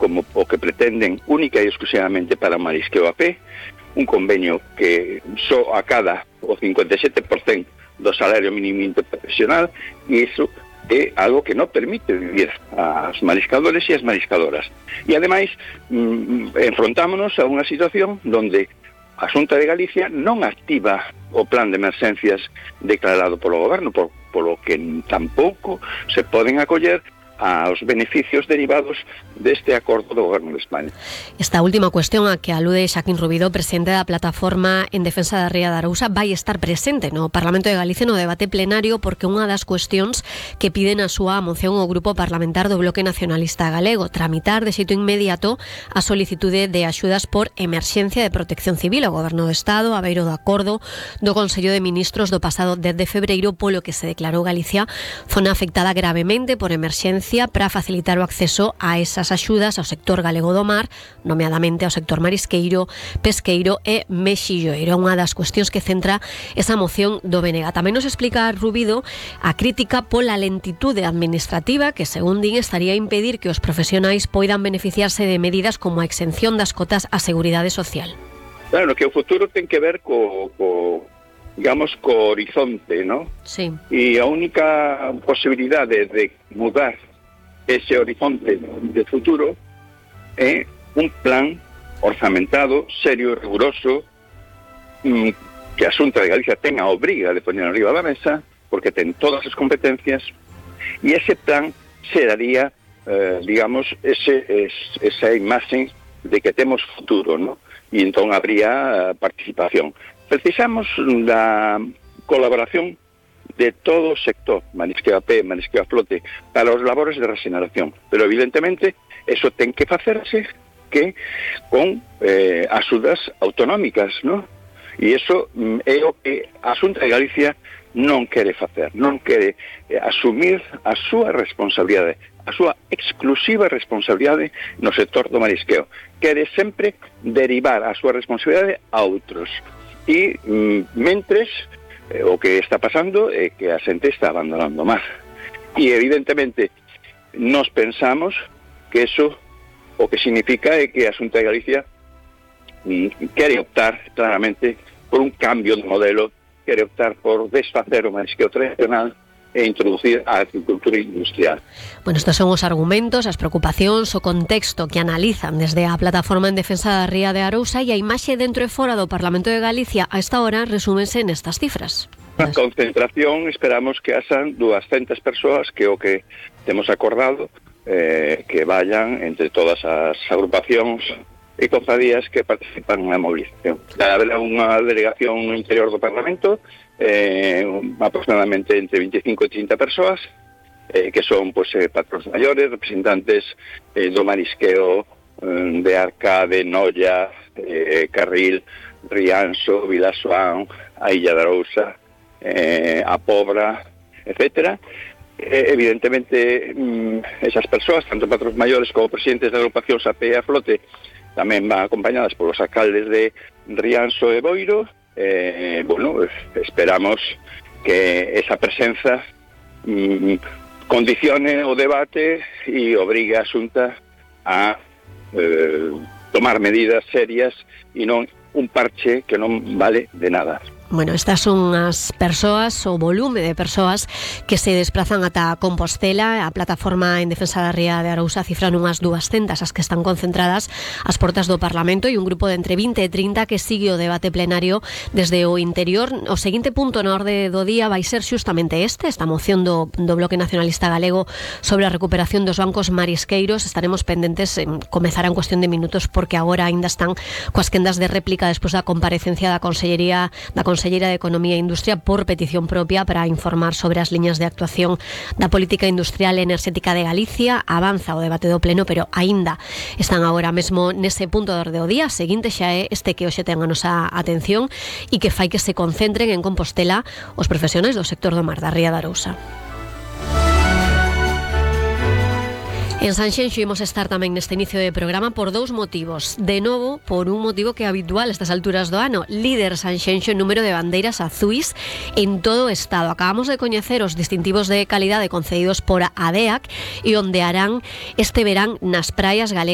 como o que pretenden única e exclusivamente para o marisqueo a pé, un convenio que só acada o 57% do salario mínimo interprofesional, e iso é algo que non permite vivir aos mariscadores e as mariscadoras. E ademais enfrontámonos a unha situación onde a Xunta de Galicia non activa o plan de emerxencias declarado polo goberno, polo que tampouco se poden acoller aos beneficios derivados deste acordo do Goberno de España. Esta última cuestión a que alude Xaquín Rubido, presidente da Plataforma en Defensa da Ría de Arousa, vai estar presente no Parlamento de Galicia no debate plenario, porque unha das cuestións que piden a súa moción o Grupo Parlamentar do Bloque Nacionalista Galego, tramitar de xeito inmediato a solicitude de axudas por emerxencia de protección civil ao Goberno do Estado, a beiro do acordo do Consello de Ministros do pasado 10 de febreiro, polo que se declarou Galicia zona afectada gravemente por emerxencia para facilitar o acceso a esas axudas ao sector galego do mar, nomeadamente ao sector marisqueiro, pesqueiro e mexilloeiro. Unha das cuestións que centra esa moción do BNG. Tamén nos explica Rubido a crítica pola lentitude administrativa que, según din, estaría a impedir que os profesionais poidan beneficiarse de medidas como a exención das cotas á Seguridade Social. Claro, que o futuro ten que ver digamos, co horizonte, ¿no? Sí. E a única posibilidade de mudar ese horizonte de futuro é un plan orzamentado, serio, riguroso, que a Xunta de Galicia ten a obriga de poner arriba da mesa, porque ten todas as competencias, e ese plan se daría, digamos, esa imaxe de que temos futuro, ¿no? E entón habría participación. Precisamos da colaboración de todo o sector, marisqueo a pé, marisqueo a flote, para os labores de regeneración. Pero, evidentemente, eso ten que facerse que con axudas autonómicas, ¿no? E iso é o que a Xunta de Galicia non quere facer, non quere asumir a súa responsabilidade, a súa exclusiva responsabilidade no sector do marisqueo. Quere sempre derivar a súa responsabilidade a outros. E, mentres, o que está pasando é que a xente está abandonando o mar. E, evidentemente, nos pensamos que eso o que significa é que a Xunta de Galicia quere optar claramente por un cambio de modelo, quere optar por desfacer o marisqueo tradicional e introducir a agricultura industrial. Bueno, estos son os argumentos, as preocupacións, o contexto que analizan desde a Plataforma en Defensa da Ría de Arousa, e a imaxe dentro e fora do Parlamento de Galicia a esta hora resúmense nestas cifras. A concentración esperamos que haxan 200 persoas, que é o que temos acordado, que vayan entre todas as agrupacións e cofradías que participan na movilización. Haberá unha delegación no interior do Parlamento, aproximadamente entre 25 e 30 persoas, que son patróns maiores, representantes do marisqueo de Arca, de Noia, Carril, Rianxo, Vilasoán, a Illa de Arousa, a Pobra, etcétera. Evidentemente, esas persoas, tanto patróns maiores como presidentes de agrupacións a pé e a flote, tamén van acompañadas polos alcaldes de Rianxo e Boiro. Bueno, esperamos que esa presenza condicione o debate e obrigue a Xunta a tomar medidas serias e non un parche que non vale de nada. Bueno, estas son as persoas, o volume de persoas que se desplazan ata Compostela. A Plataforma en Defensa da Ría de Arousa cifran unhas 200 as que están concentradas ás portas do Parlamento, e un grupo de entre 20 e 30 que sigue o debate plenario desde o interior. O seguinte punto na orde do día vai ser xustamente esta moción do Bloque Nacionalista Galego sobre a recuperación dos bancos marisqueiros. Estaremos pendentes, comezará en cuestión de minutos, porque agora aínda están coas quendas de réplica despois da comparecencia da Conselleira de Economía e Industria por petición propia para informar sobre as liñas de actuación da política industrial e enerxética de Galicia. Avanza o debate do pleno, pero aínda están agora mesmo nese punto de orde do día. Seguinte xa é este que hoxe ten a nosa atención e que fai que se concentren en Compostela os profesionais do sector do mar da Ría de Arousa. En Sanxenxo imos estar tamén neste inicio de programa por dous motivos. De novo, por un motivo que é habitual a estas alturas do ano: líder Sanxenxo en número de bandeiras azuis en todo o estado. Acabamos de coñecer os distintivos de calidade concedidos por ADEAC e ondearán este verán nas praias galegas.